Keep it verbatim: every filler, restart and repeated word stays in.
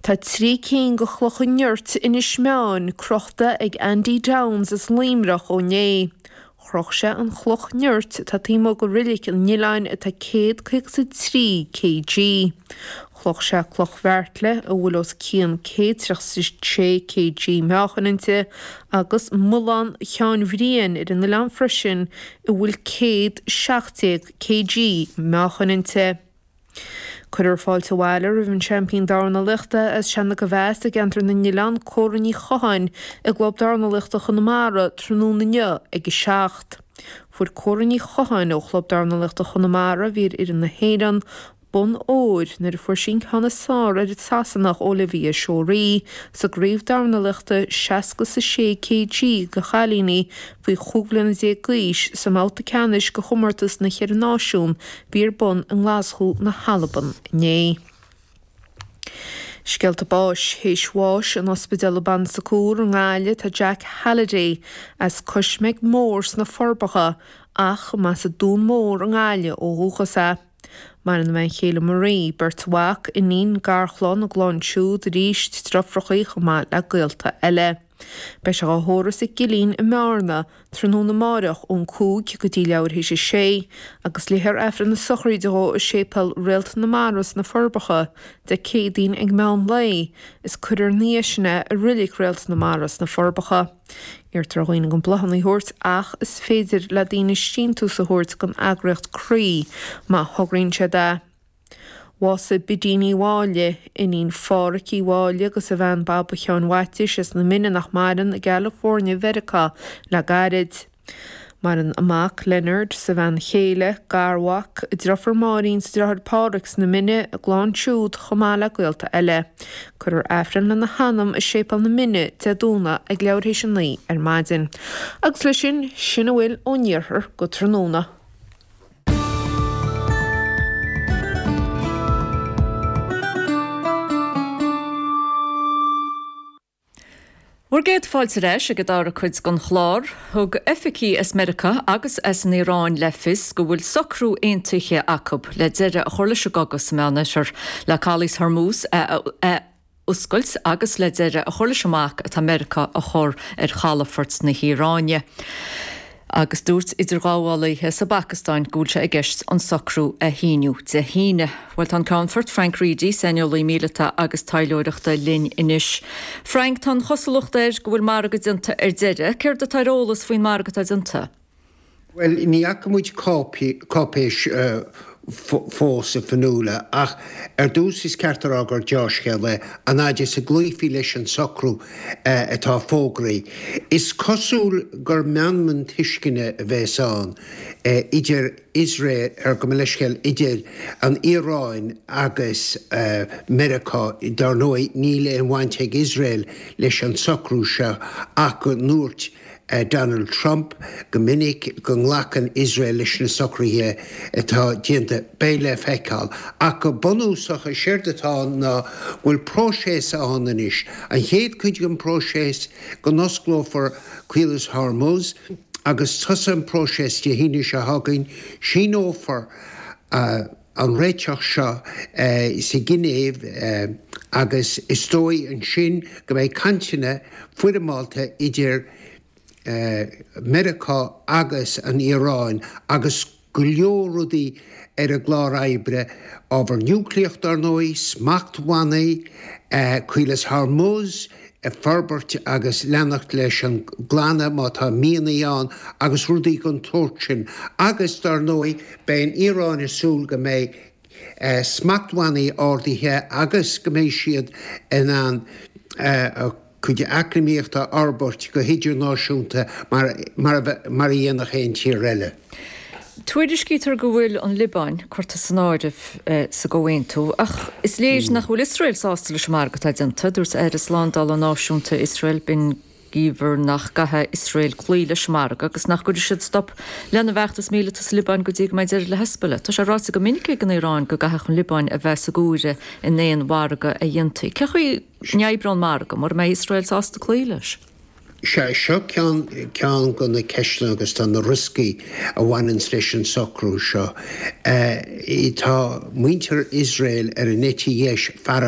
Tá trí cinn de chlocha nirt Inis Meáin crochta ag Andy Downes as Luimneach ó inné. Chroch sé an chloch nirt atá taobh amuigh de reilig an oileáin atá céad caoga is a trí kg. Chroch sé cloch bheairtle a bhfuil os cionn céad tríocha is sé kg meáchain inti agus Mullán Sheáin Bhriain ar an oileán freisin a bhfuil céad seacht déag kg meáchain inti. Cuirfear fáilte abhaile roimh an seaimpín dornálaíochta as Seanadh Mheas i gceantar na nOileán, Córa Ní Chatháin, i gClub Dornálaíochta Chonamara tráthnóna inniu ag a seacht. Fuair Córa Ní Chatháin ó Chlub Dornálaíochta Chonamara, a bhí ar fhoireann na hÉireann, bonn óir nuair a fuair sí an ceann is fearr ar an Sasanach Olivia Shorey sa gcraobh dornálaíochta seasca is a sé kg do chailíní faoi chúig bhliana déag d'aois sa mbabhta ceannais de chomórtas na Cheithre Náisiún a bhí ar bun i nGlaschú na hAlban inné. Scéalta báis théis bháis in ospidéal Bon Secours i nGaillimh tá Jack Halliday as Cois Mór sna Forbacha ach mba as an Dún Mór i nGaillimh ó dhúchas é. Maireann a bhean chéile Marie, beirt mhac, iníon, garchlann, a gclann siúd arís, deirfiúracha chomh maith le gaolta eile. Beidh sé á thórramh sa gCillín i mBearna tráthnóna amáireach ón cúig go dtí leathuair théis a sé agus léifear Aifreann na sochraide dhó i Séipéal Réalt na Mara sna Forbacha Dé Céadaoin ag meán lae is cuirfear ina dhiaidh sin é i Reilig Réalt na Mara sna Forbacha. Iarrtar ar dhaoine gan bláthanna a thabhairt ach is féidir le daoine síntiús a thabhairt don eagraíocht Croí má thograíonn siad é. Bhásaigh Bidí Ní Mháille, iníon Phádhraic Uí Mháille agus a bhean Baba Sheáin Mhaitiais as na Mine nach maireann i gCalifornia Mheiriceá le gairid. Maireann a mac, Leonard, 's a bhean chéile, garmhac, a deirfiúr Máirín 's a deartháir Pádhraic sna Mine, a gclann siúd, chomh maith le gaolta eile. Cuirfear Aifreann lena hanam i Séipéal na Mine, Dé Domhnaigh, ag leathuair théis a naoi ar maidin. Agus leis sin, sin a bhfuil ón iarthar go tráthnóna. Bhur gcéad fáilte ar ais ag an dara cuid den chlár. Thug oifigigh as Meiriceá agus as an Iaráin le fios go bhfuil socrú aontaithe acu le deireadh a chur leis an gcogadh sa Meánoirthear, le Calas Hormuz a oscailt agus le deireadh a chur leis an mbac atá Meiriceá a chur ar chalafort na hIaráine. Agus dúirt idirghabhálaithe sa bPacastáin go bhfuil sé i gceist an socrú a shíniú Dé hAoine. Bhuel, tá an Ceannfort Frank Reidy, saineolaí míleata agus taidhleoireachta linn anois. Frank, tá an chosúlacht air go bhfuil margadh déanta ar deireadh. Céard atá ar eolas faoin margadh atá déanta? Bhuel, ní fhaca muid cáipéis fós a Fionnuala, ach ar dtús is ceart a rá gur deá-scéal é an fhaid is a gcloífí leis an socrú atá fógraithe. Is cosúil gur meanman tuisceana a bheas ann idir Iosrael, ar gabh mo leithscéal, idir an Iaráin agus Meiriceá. Dar ndóigh níl aon bhaint ag Iosrael leis an socrú seo ach go ndúirt Donald Trump go minic go nglacann Iosrael leis na socruithe atá déanta. Beidh le feiceáil. Ach go bunúsach, is éard atá ann ná go bhfuil próiseas ann anois. An chéad chuid den phróiseas, go n-osclófar Caolas Hormuz agus tosóidh an próiseas Dé hAoine seo chugainn. Síneofar an réiteach seo sa Ghinéiv agus is dóigh ansin go mbeidh cainteanna foirmeálta idir Meiriceá agus an Iaráin agus go leor rudaí ar an gclár oibre, ábhar núicléach dar ndóigh, smachtbhannaí, Caolas Hormuz a forbairt agus leanacht leis an nglanadh má tá mianaigh ann agus rudaí den tsórt sin. Agus dar ndóigh beidh an Iaráin ag súil go mbeidh smachtbhannaí ardaithe agus go mbeidh siad in ann a gcuid eacnamaíochta a fhorbairt go hidirnáisiúnta mar a dhéanfadh aon tír eile. Tuairiscítear go bhfuil an Liobáin curtha san áireamh sa gcomhaontú ach is léir nach bhfuil Iosrael sásta leis an margadh atá déanta. Dúirt Aire Slándála Náisiúnta Iosrael, Ben Gvir nach gcaithfidh Iosrael cloí leis an margadh agus nach gcuirfidh siad stop lena bhfeachtas míleata sa Liobáin go dtí go mbeidh deireadh le Hezbollah. Tá sé ráite go minic ag an Iaráin go gcaithfeadh an Liobáin a bheith sa gcomhaireamh in aon mhargadh a dhéanfaí. Cén chaoi a n-oibreoidh an margadh mura mbeidh Iosrael sásta cloí leis? Sea, seo ceann ceann de na ceisteanna agus tá na rioscaí a bhaineanns leis an socrú seo. Tá muintir Iosrael ar an eite dheis feargach.